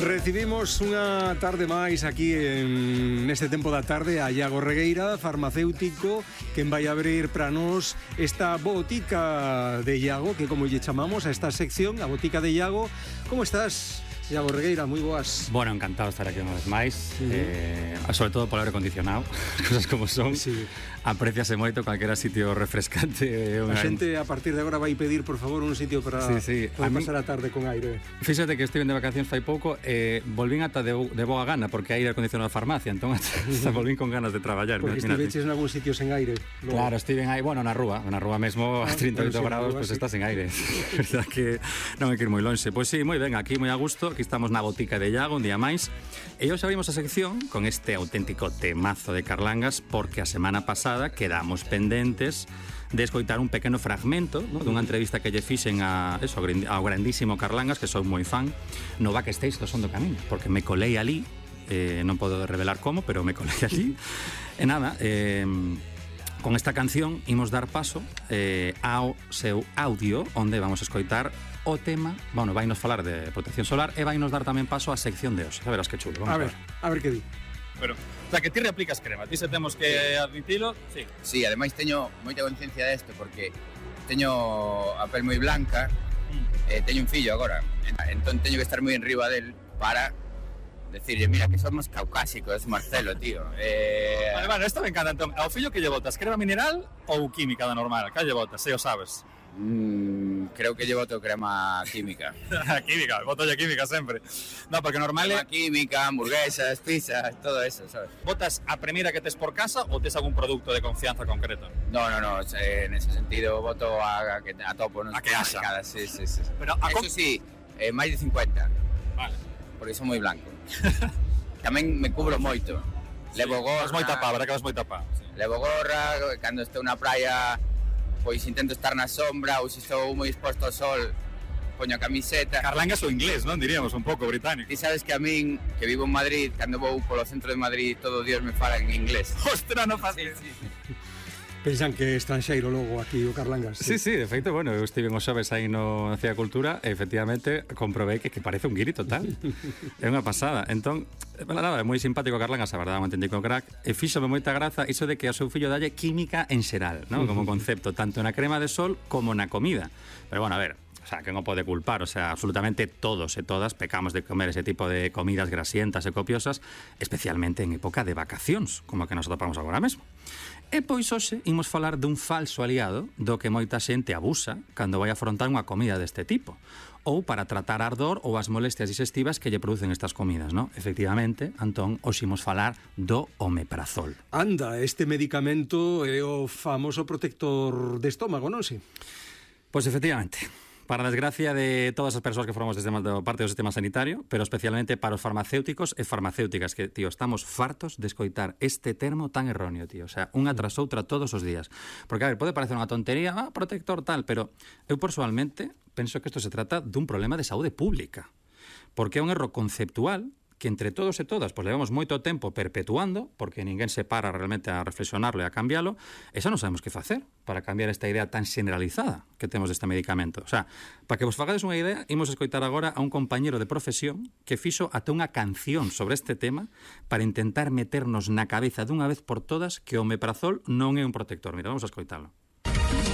Recibimos unha tarde máis aquí neste tempo da tarde a Iago Regueira, farmacéutico, quen vai abrir para nós esta botica de Iago, que como lle chamamos a esta sección, a botica de Iago. Como estás, Iago Regueira? Moi boas. Bueno, encantado de estar aquí unha vez máis, sobre todo polo aire acondicionado, as cosas como son. Sí. Apreciase moito calquera sitio refrescante. A xente a partir de agora vai pedir, por favor, un sitio para poder pasar a tarde con aire. Fíxate que estive de vacacións fai pouco, volvín ata de boa gana, porque hai aire acondicionado na farmacia, entón hasta volvín con ganas de traballar. Porque estiveches en algún sitio sen aire. Luego. Claro, estiven aí, bueno, na rúa mesmo a 38 graus, pues está sen aire. Verdad que non hai que ir moi lonxe. Pois sí, moi ben, aquí moi a gusto, aquí estamos na botica de Iago un día máis. E hoxe abrimos a sección con este auténtico temazo de Carlangas, porque a semana pasada quedamos pendentes de escoitar un pequeno fragmento, ¿no?, dunha entrevista que lle fixen ao grandísimo Carlangas, que son moi fan, no backstage do Son do Camiño, porque me colei ali, non podo revelar como, pero me colei ali. E nada, con esta canción imos dar paso ao seu audio, onde vamos a escoitar o tema, bueno, vai nos falar de protección solar e vai nos dar tamén paso á sección de hoxe. A verás que chulo. A ver que di. Pero, o sea, que ti replicas crema, ti se temos que admitilo, sí. Sí, ademais teño moita conciencia desto, porque teño a pel moi blanca, teño un fillo agora, entón teño que estar moi enriba del para decirle, mira, que somos caucásicos, Marcelo, tío. Vale, esta me encanta, entón, ao fillo que lle botas, crema mineral ou química da normal? Que lle botas, se o sabes? Creo que lle boto crema química. Química, botolle química sempre. No, porque normal crema química, hamburguesas, pizzas, todo eso, sabes? Botas a primeira que tes por casa ou tes algún produto de confianza concreto? No, en ese sentido boto a topo, non? A que haxa. Sí. Pero eso sí, máis de 50. Vale. Porque son moi blanco. Tamén me cubro moito. Sí, levo gorra. Vas moi tapado, verdad que vas moi tapado. Sí. Levo gorra, cando estou na praia, pois intento estar na sombra, ou se estou moi exposto ao sol, poño a camiseta. Carlangas ou inglés, non? Diríamos un pouco británico. Ti sabes que a min, que vivo en Madrid, cando vou polo centro de Madrid, todo Dios me fala en inglés. Ostra, non fácil. Sí. Pensan que é estranxeiro logo aquí o Carlangas. Sí, de feito, bueno, eu estive os xoves aí no Cia Cultura e efectivamente comprobei que parece un guiri total. É unha pasada. Entón, nada, é moi simpático Carlangas, a verdade, un auténtico crack, e fíxome moita graza iso de que ao seu fillo dalle química en xeral, ¿no?, como concepto, tanto na crema de sol como na comida. Pero bueno, a ver, o sea, que non pode culpar, o sea, absolutamente todos e todas pecamos de comer ese tipo de comidas grasientas e copiosas, especialmente en época de vacacións, como a que nos atopamos agora mesmo. E pois hoxe imos falar dun falso aliado do que moita xente abusa cando vai afrontar unha comida deste tipo, ou para tratar a ardor ou as molestias digestivas que lle producen estas comidas, ¿no? Efectivamente, Antón, hoxe imos falar do omeprazol. Anda, este medicamento é o famoso protector de estómago, non si? Pois efectivamente. Para a desgracia de todas as persoas que formamos parte do sistema sanitario, pero especialmente para os farmacéuticos e farmacéuticas, que, tío, estamos fartos de escoitar este termo tan erróneo, tío. O sea, unha tras outra todos os días. Porque, a ver, pode parecer unha tontería, protector tal, pero eu personalmente penso que isto se trata dun problema de saúde pública. Porque é un erro conceptual que entre todos e todas pues levamos moito tempo perpetuando, porque ninguén se para realmente a reflexionarlo e a cambialo, e xa non sabemos que facer para cambiar esta idea tan generalizada que temos deste medicamento. O sea, para que vos fagades unha idea, imos escoitar agora a un compañero de profesión que fixo ata unha canción sobre este tema para intentar meternos na cabeza dunha vez por todas que o omeprazol non é un protector. Mira, vamos a escoitalo.